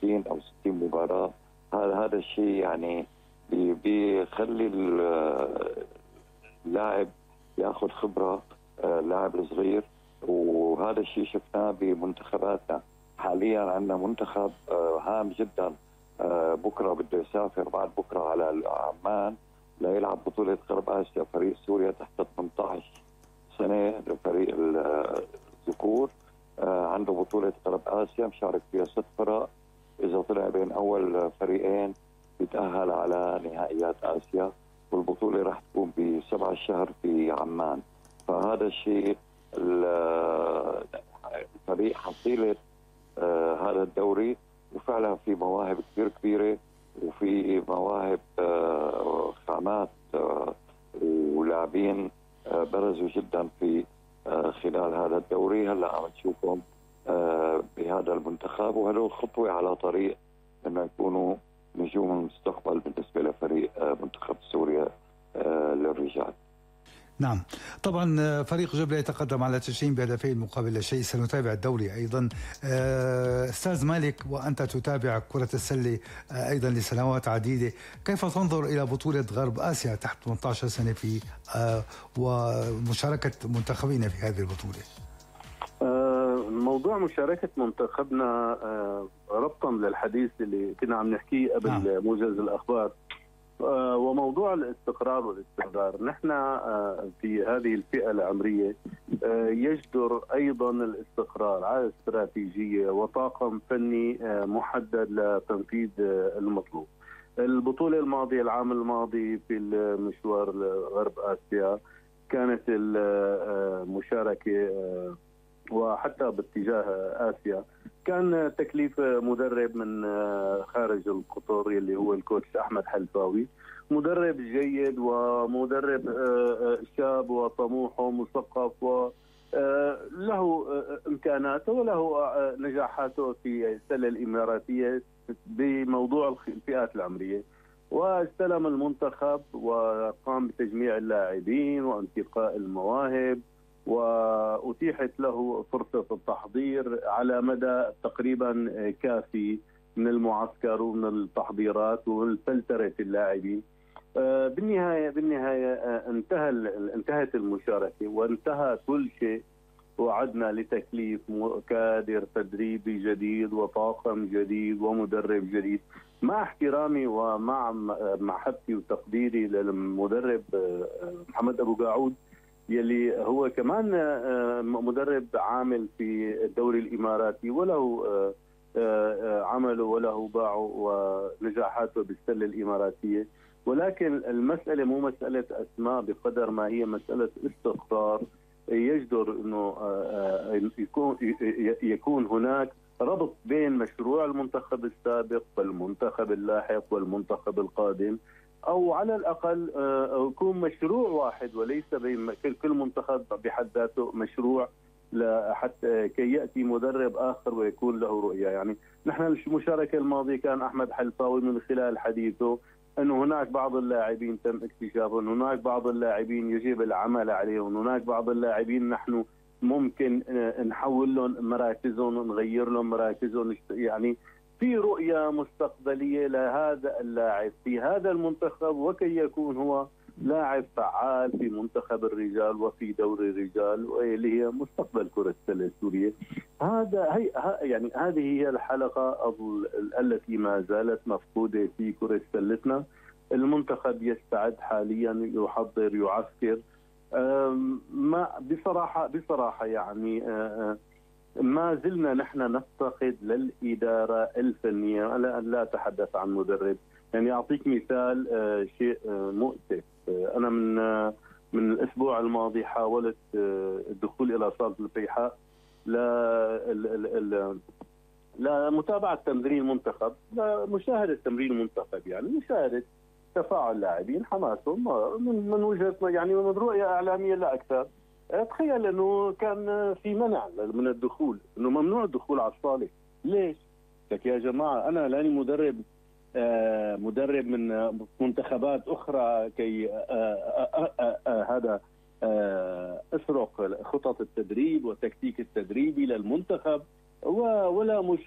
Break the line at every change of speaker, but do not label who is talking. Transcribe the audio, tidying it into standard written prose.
50 أو 60 مباراة. هذا الشيء يعني بيخلي اللاعب ياخذ خبرة، اللاعب الصغير. وهذا الشيء شفناه بمنتخباتنا. حاليا عندنا منتخب هام جدا، بكرة بده يسافر بعد بكرة على عمان ليلعب بطولة غرب آسيا. فريق سوريا تحت 18 سنة، فريق الذكور، عنده بطولة غرب آسيا مشارك فيها 6 فرق. إذا طلع بين أول فريقين بيتأهل على نهائيات آسيا، والبطولة راح تكون ب7 الشهر في عمان. فهذا الشيء الفريق حصيلة هذا الدوري، وفعلا في مواهب كثير كبيرة، وفي مواهب خامات ولاعبين برزوا جدا في خلال هذا الدوري. هلا عم نشوفهم بهذا المنتخب، وهذول خطوة على طريق انه يكونوا نجوم المستقبل بالنسبة لفريق منتخب سوريا للرجال.
نعم، طبعا فريق جبلة يتقدم على 90 بهدفين مقابل لا شيء. سنتابع الدوري أيضا. أستاذ مالك، وأنت تتابع كرة السلة أيضا لسنوات عديدة، كيف تنظر إلى بطولة غرب آسيا تحت 18 سنة في ومشاركة منتخبين في هذه البطولة؟
موضوع مشاركة منتخبنا ربطا للحديث اللي كنا عم نحكيه قبل موجز الأخبار، وموضوع الاستقرار والاستمرار. نحن في هذه الفئة العمرية يجدر أيضا الاستقرار على استراتيجية وطاقم فني محدد لتنفيذ المطلوب. البطولة الماضية، العام الماضي في المشوار غرب آسيا، كانت المشاركة وحتى باتجاه آسيا كان تكليف مدرب من خارج القطر اللي هو الكوتش أحمد حلفاوي، مدرب جيد ومدرب شاب وطموح ومثقف وله إمكاناته وله نجاحاته في السلة الإماراتية بموضوع الفئات العمرية. واستلم المنتخب وقام بتجميع اللاعبين وانتقاء المواهب، وأتيحت له فرصة التحضير على مدى تقريبا كافي من المعسكر ومن التحضيرات ومن فلترة اللاعبين. بالنهاية انتهت المشاركة وانتهى كل شيء، وعدنا لتكليف كادر تدريبي جديد وطاقم جديد ومدرب جديد. مع احترامي ومع محبتي وتقديري للمدرب محمد أبو قاعود يلي هو كمان مدرب عامل في الدوري الإماراتي، وله عمله وله باعه ونجاحاته بالسلة الإماراتية، ولكن المسألة مو مسألة أسماء بقدر ما هي مسألة استقرار. يجدر أنه يكون هناك ربط بين مشروع المنتخب السابق والمنتخب اللاحق والمنتخب القادم، أو على الأقل يكون مشروع واحد وليس بين كل منتخب بحد ذاته مشروع حتى كي يأتي مدرب آخر ويكون له رؤية. يعني نحن المشاركة الماضية كان أحمد حلفاوي من خلال حديثه أنه هناك بعض اللاعبين تم اكتشافهم، هناك بعض اللاعبين يجب العمل عليهم، هناك بعض اللاعبين نحن ممكن نحول لهم مراكزهم، نغير لهم مراكزهم. يعني في رؤية مستقبلية لهذا اللاعب في هذا المنتخب، وكي يكون هو لاعب فعال في منتخب الرجال وفي دوري الرجال اللي هي مستقبل كرة السلة السورية. يعني هذه هي الحلقة التي ما زالت مفقودة في كرة سلتنا. المنتخب يستعد حاليا، يحضر، يعسكر. ما بصراحة يعني ما زلنا نحن نفتقد للإدارة الفنية. لا أتحدث عن مدرب. يعني أعطيك مثال شيء مؤسف. أنا من الأسبوع الماضي حاولت الدخول إلى صالة الفيحاء لمتابعة تمرين المنتخب، لمشاهدة تمرين المنتخب، يعني مشاهدة تفاعل اللاعبين، حماسهم من وجهة يعني من رؤية إعلامية لا أكثر. تخيل أنه كان في منع من الدخول، أنه ممنوع الدخول على الصالة. ليش؟ لك يا جماعة أنا لاني مدرب من منتخبات أخرى كي هذا أسرق خطط التدريب والتكتيك التدريبي للمنتخب ولا مشي